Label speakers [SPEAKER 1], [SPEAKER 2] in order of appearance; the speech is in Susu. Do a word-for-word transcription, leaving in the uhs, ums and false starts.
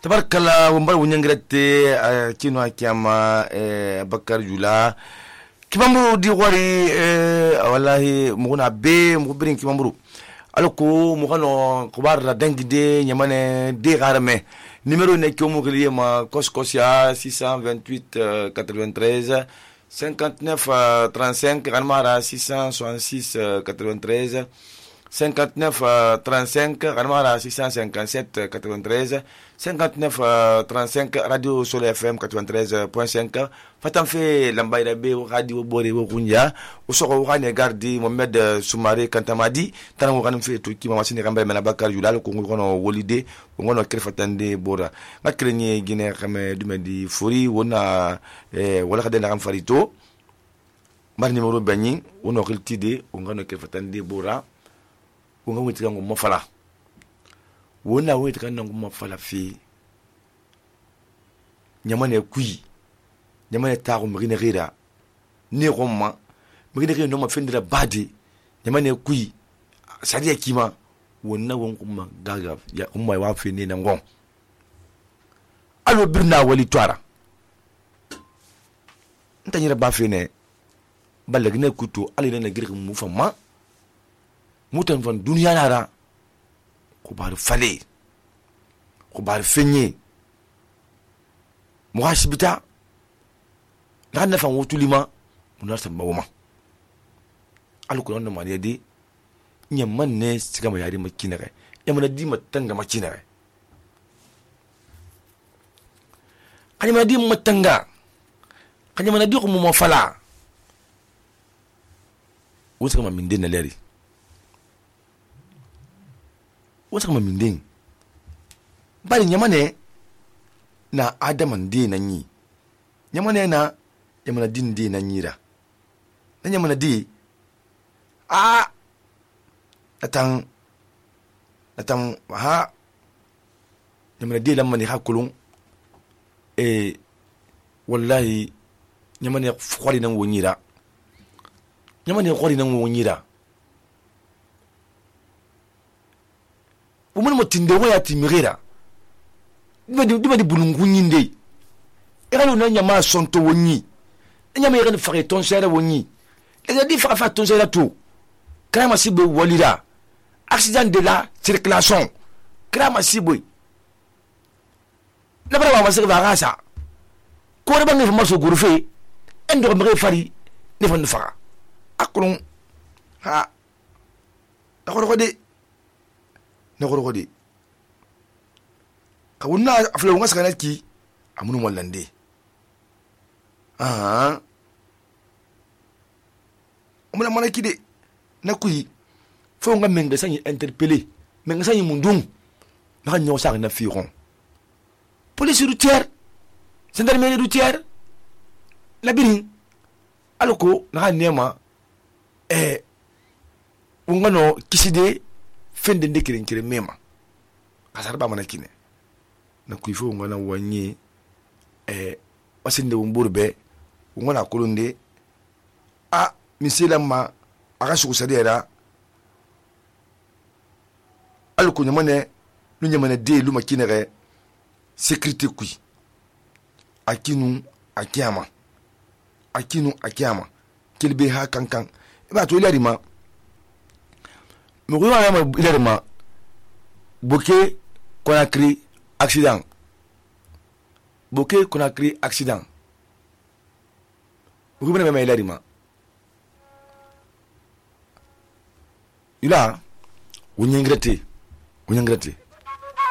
[SPEAKER 1] tabarkala wumbar wunyangrete kino akiyama Bakar Jula kibamburu di wari wallahi muguna be mubirin kibamburu alko mugano kubar la dangide nyamane de garame numéro ne kyomu kliye ma koskosia six cent vingt-huit quatre-vingt-treize cinquante-neuf trente-cinq ganmara six cent soixante-six quatre-vingt-treize cinquante-neuf trente-cinq ganmara six cent cinquante-sept quatre-vingt-treize cinquante-neuf trente-cinq radio Soleil F M quatre-vingt-treize point cinq fatan fe lambayra be radio bore wo kunya usoko wani gardi Mohamed Soumare Kantamadi tan wo kanum fe to kima masini kambay mena Bakar Jula ko ngono wolide ngono kerfatande bora ngakrenye gine xame dumedi fori wona e wala khade na kam farito mar numéro bagni wono xiltide ngono kerfatande bora wonga witiga ngo mofala wona witiga ngo mofala fi nyamane kui nyamane taxu migine gira ne gomma migine gira no ma fendira badi nyamane kui sadiya kima wonna won kuma gaga ya umma wa fi ne nan gon alo birna wali twara ntanyira ba fi ne balagine kuto ali ne gira mu fama mutan fan duniya nara ko bar fale ko bar fenye muhasibita la na fan wotulima munar samba woma alko non ma yedi nyamman ne siga ma yari makinare yamana di matanga makinare kanyama di matanga kanyama di ko mo fala wusa ma min den leri wasa kama minding bali nyamane na adaman di na nyi nyamane na yamana din di na nyira na nyamana di a atang atang ha nyamana di lamani hakulun e wallahi nyamane khwali nan wonyira nyamane khwali nan wonyira umune motinde waya timirira dibadi dibadi bulungunyinde eralo na nyama sonto wonyi nyama yere fare ton sere wonyi eza di fara fa ton sere to krama sibe walira accident de la circulation krama sibe na bara wa sere varasa ko reba ne fama so gurufe endo mre fari ne fon fara akulun ha akoro de na goro de ka wunna afla wonga sakana ki amunu wallande ah umuna mana kide na kuyi fo nga menga sanyi interpeller menga sanyi mundung na nyo sa na firon police routière gendarmerie routière la bini aloko na nema eh wonga no kiside fende ndekire nkire mema kasarba mana kine na kuifo ngana wanye eh wasinde umburbe ngona kulunde a misila ma akashu kusadera alko nyamane lu nyamane de lu makinere sécurité kui akinu akiyama akinu akiyama kilbe ha kankan ba to ilarima Mourir à l'érema, Bokeh Conakry accident. Bokeh Conakry accident. Vous comprenez même l'érema. Il a, vous n'y regrettez, vous n'y regrettez.